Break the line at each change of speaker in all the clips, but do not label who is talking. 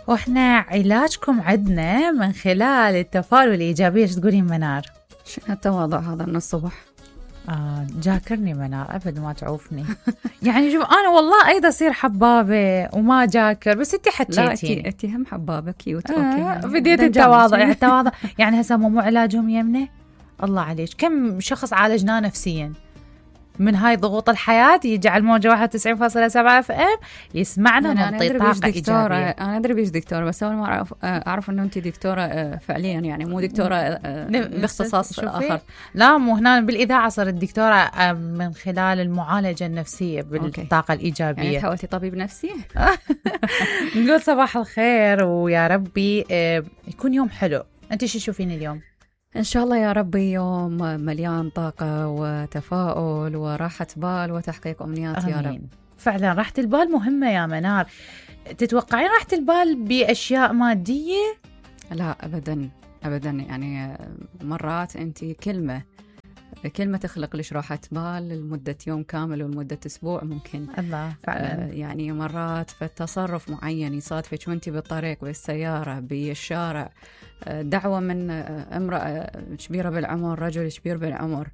واحنا علاجكم عندنا من خلال التفاؤل الإيجابية. ايش تقولين منار؟
شنو التواضع هذا من الصبح؟
جاكرني منار أبد ما تعوفني. يعني شوف أنا والله أيضا أصير حبابة وما جاكر، بس أنت حكيتي
لا أنت هم حبابة كيوت.
بديت التواضع يعني التواضع يعني هسه مو علاجهم يمنه. الله عليك كم شخص عالجناه نفسيا من هاي ضغوط الحياة، يجي على الموجة 91.7 FM يسمعنا ونعطي طاقة إيجابية.
أنا أدري بيش دكتورة، بس أول ما أعرف أنه أنت دكتورة فعليا، يعني مو دكتورة باختصاص آخر.
لا مو هنا بالإذاعة صرت دكتورة من خلال المعالجة النفسية بالطاقة الإيجابية.
يعني حاولتي طبيب نفسي؟
نقول صباح الخير ويا ربي يكون يوم حلو. أنت شو تشوفين اليوم؟
إن شاء الله يا ربي يوم مليان طاقة وتفاؤل وراحة بال وتحقيق أمنيات.
أمين.
يا رب.
فعلا راحة البال مهمة يا منار. تتوقعين راحة البال بأشياء مادية؟
لا أبدا أبدا، يعني مرات أنت كلمة تخلق لش راحة بال لمدة يوم كامل ولمدة أسبوع ممكن.
الله فعلا.
يعني مرات في تصرف معين يصادفك وانت بالطريق بالسيارة بالشارع، دعوة من امرأة كبيرة بالعمر، رجل كبير بالعمر،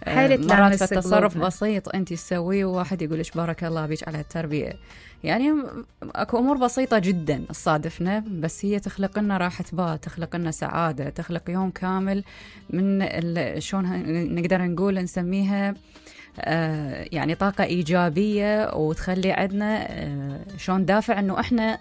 مرات في تصرف بسيط انت تسويه وواحد يقولش بارك الله بيك على التربية. يعني اكو امور بسيطة جدا تصادفنا، بس هي تخلق لنا راحة بال، تخلق لنا سعادة، تخلق يوم كامل من شلون نقدر نقول نسميها يعني طاقة إيجابية، وتخلي عندنا شلون دافع أنه إحنا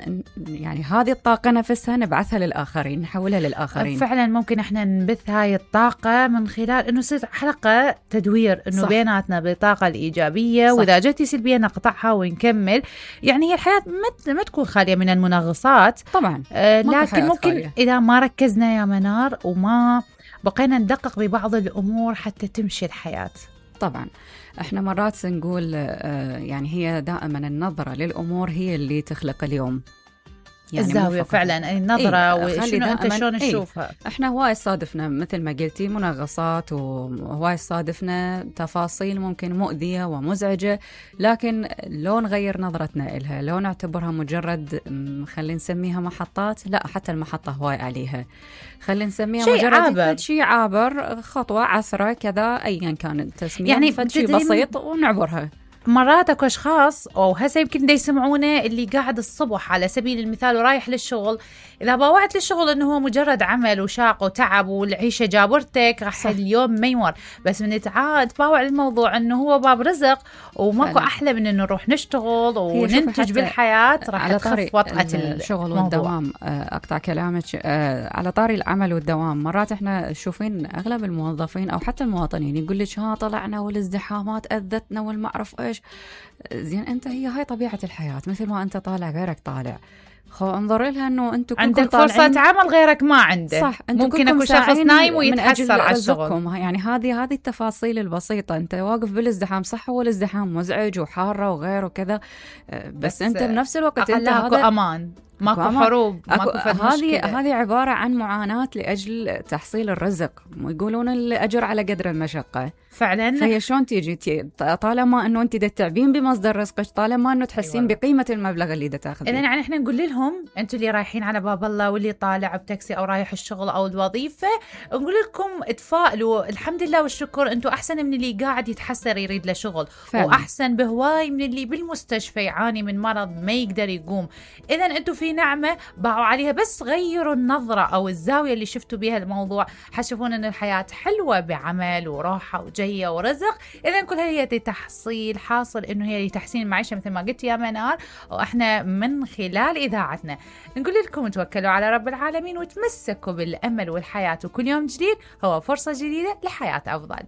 يعني هذه الطاقة نفسها نبعثها للآخرين، نحولها للآخرين.
فعلا ممكن إحنا نبث هاي الطاقة من خلال أنه تصير حلقة تدوير أنه صح. بيناتنا بالطاقة الإيجابية، صح. وإذا جتي سلبية نقطعها ونكمل. يعني هي الحياة ما تكون خالية من المنغصات
طبعا،
لكن ممكن خالية. إذا ما ركزنا يا منار وما بقينا ندقق ببعض الأمور حتى تمشي الحياة.
طبعا احنا مرات نقول يعني هي دائما النظرة للأمور هي اللي تخلق اليوم.
يعني الزاوية فعلا النظرة وشنو أنت شلون تشوفها.
احنا هواي صادفنا مثل ما قلتي منغصات، وهواي صادفنا تفاصيل ممكن مؤذية ومزعجة، لكن لو نغير نظرتنا إلها، لو نعتبرها مجرد خلينا نسميها محطات، لا حتى المحطة هواي عليها، خلينا نسميها مجرد شيء عابر، خطوة عسرة كذا أيا كان التسمية، يعني شيء بسيط ونعبرها.
مرات اكو اشخاص او هسه يمكن دا يسمعونه اللي قاعد الصبح على سبيل المثال ورايح للشغل، اذا باوعت للشغل انه هو مجرد عمل وشاق وتعب والعيشه جابرتك راح اليوم ما يمر، بس من تعاد باوع الموضوع انه هو باب رزق وماكو احلى من انه نروح نشتغل وننتج بالحياه، راح تخف وطأة
الشغل والدوام. اقطع كلامك على طاري العمل والدوام، مرات احنا شوفين اغلب الموظفين او حتى المواطنين يقول لك ها طلعنا والازدحامات اذتنا والمعرف ايش. زين انت هي هاي طبيعة الحياة، مثل ما انت طالع غيرك طالع، انظر لها انه انتم
عندك فرصة عمل غيرك ما عنده.
صح،
ممكن اكو شخص نايم ويتحسر على الشغل.
يعني هذه التفاصيل البسيطة. انت واقف بالازدحام، صح هو الازدحام مزعج وحارة وغيره وكذا، بس انت بنفس الوقت انت
اكو امان، ماكو حروب، ماكو
هذه عبارة عن معاناة لأجل تحصيل الرزق، يقولون الأجر على قدر المشقة
فعلا.
فهي شلون تيجي طالما أنه أنت تتعبين بمصدر رزقك، طالما أنه تحسين بقيمة المبلغ اللي تاخذيه.
إذن يعني إحنا نقول لهم أنتوا اللي رايحين على باب الله واللي طالع بتاكسي أو رايح الشغل أو الوظيفة، نقول لكم تفائلوا، الحمد لله والشكر، أنتوا أحسن من اللي قاعد يتحسر يريد له شغل فعلا. وأحسن بهواي من اللي بالمستشفى يعاني من مرض ما يقدر يقوم. إذن أنتوا في نعمة باعوا عليها، بس غيروا النظرة أو الزاوية اللي شفتوا بها الموضوع، حتشوفون أن الحياة حلوة بعمل وراحة وجية ورزق. إذن كل هي تحصيل حاصل أنه هي تحسين المعيشة مثل ما قلت يا منار، وإحنا من خلال إذاعتنا نقول لكم توكلوا على رب العالمين وتمسكوا بالأمل والحياة، وكل يوم جديد هو فرصة جديدة لحياة أفضل.